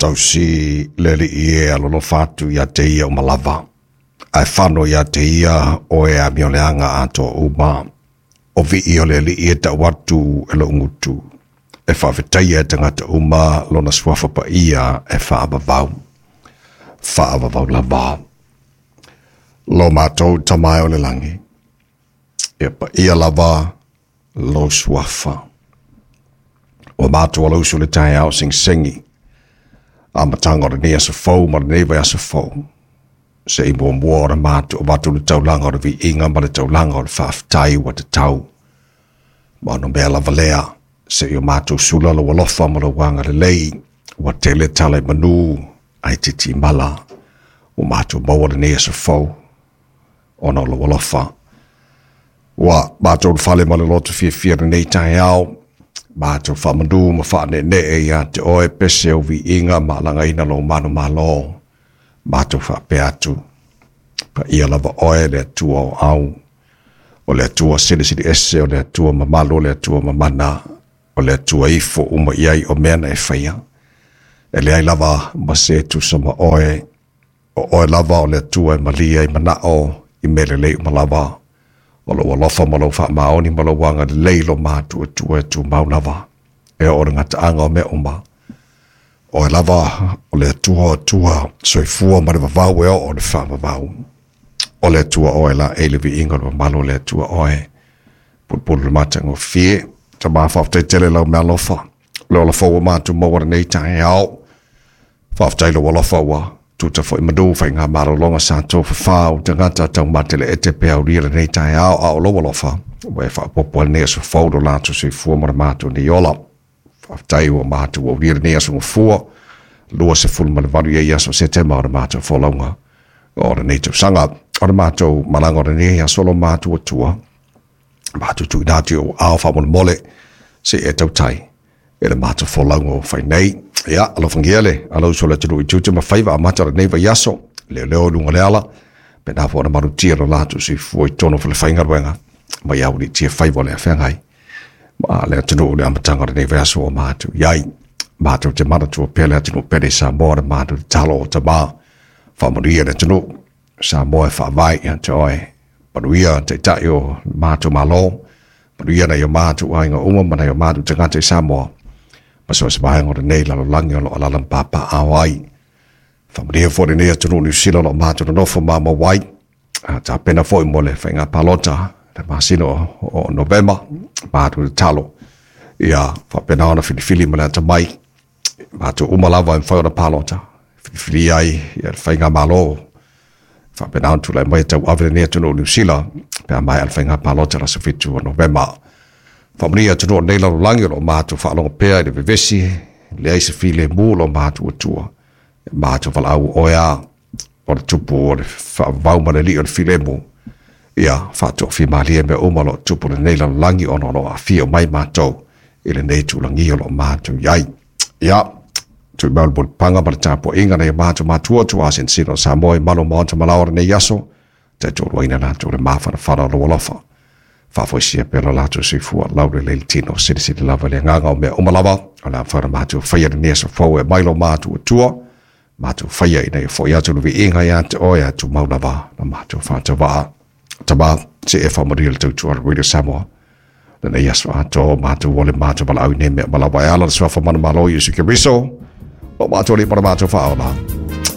Faatausi le Alii e alolofa atu ia te ia uma lava, ae fano ia te ia o e amioleaga atoa uma. O vii o le Alii e tau atu e lou gutu, e faafetaia e tagata uma lona suafa paia e faavavau, faavavau lava. Lo matou Tama e o le lagi, ia paia lava lou suafa. Ua matou alausu le taeao segisegi, amataga o lenei aso fou ma lenei vaiaso fou, se i muamua ona matou avatu le taulaga o le viiga ma le taulaga o le faafetai ua tatau. Ma ona mea lava lea, se i o matou sula lou alofa ma lou agalelei, ua tele tala i manu ae itiiti mala, ua matou maua lenei aso fou ona o lou alofa. Ua matou fale ma le loto fiafia lenei taeao, matou faamanu ma faaneenee ia te oe pese o viiga ma alagaina lou manumalo. Matou faapea atu, paia lava oe le Atua o au, o le Atua silisili ese, o le Atua mamalu, o le Atua mamana, o le Atua ifo uma i ai o mea na e faia. E leai lava ma se tusa ma oe, o oe lava o le Atua e malie ai manao i mea lelei uma lava. O lou alofa ma lou faamaoni ma lou agalelei lo matuatua e tumau lava, e oo i le gataaga o mea uma. Oe lava o le Atua o Atua, soifua ma le vavau e oo i le faavavau. O le Atua oe laei le viiga o le mamalu o le Atua oe, pulupulu le matagofie. Tama faafetai tele lau meaalofa, le ola fou ua matou maua lenei taeao. Faafetai lou alofa ua tuta foi manu faiga malologa sa tofafā o tagata taumateleete pe aulia lenei taeao, a o lou alofa ua e faaopoopo ai lenei aso fou lo latou soifua ma le matou nei ola. Faafetai ua matou aulia lenei aso gafua, 28 i ai aso Setema o le matou folauga o lenei tausaga. O le matou malaga o lenei aso lo matou Atua, matou tuuina atu i ou aao faamolemole, se i e tautai e le matou folauga ua fai nei. Ia, alofagia le alausu o le atunuu i tiute ma faiva amata o lenei vaiaso, leoleo i luga o le ala, pena foi ona malutia lo latou soifua i totonu o falefaigaluega, ma ia aualiitia faiva o le afeagai ma le atunuu i le amataga o lenei vaiaso ua matou i ai. Matou te manatua pea le atunuu pele i Samoa, le matou tatalo o Tama, faamanuia le atunuu Samoa e faavae ia te oe. Manuia taitai o matou Malo, manuia nai o matou aiga uma ma nai o matou tagata i Samoa, ma so o se vaega o lenei lalolagi o lo o alaala ma papaaao ai. Faamanuia foi lenei atunuu Niu Sila o lo o matou nonofo mamau ai, a tapena foi mo le faiga palota le masina o Novema. Matou tatalo ia faapena ona filifili ma le atamai matou uma lava e mafai ona palota, filifilia ai ia le faigamalo faapena ona tulai mai e tauave lenei atunuu Niu Sila pe a maea le faiga palota le aso 7 o Novema. Faamanuia atunuu o lenei lalolagi o lo o matou faalogo pea i le vevesi, leai se filemu o lo matou Atua. Matou valaau oe a o le tupu o le faavavau ma le alii o le filemu, ia faatoafimalie mea uma o lo o tupu lenei lalolagi ona o lo o aafia mai matou i lenei tulagi o lo o matou i ai. Ia, tui mai o le mulipaga ma le tapuaiga nai o matou matua tuaa sinosino o Samoa i malu o maota ma laoa lenei aso, taitoaluaina latou le mafanafana o lou alofa. Faafoisia pea lo latou soifua lau lelei le tino, silisili lava i le agaga o mea uma lava, o le a mafai ona matou faia lenei aso fou e mai lo matou Atua, matou faia ina ia foi atu le viiga ia te oe a tumau lava na matou faatavaa. Tama, se e faamanuia le tautua a le Radio Samoa lenei aso atoa, matou ole matou valaau i nei mea ma lava e ala le suafa manumalo Iesu Keriso, o matou alii ma le matou faaola.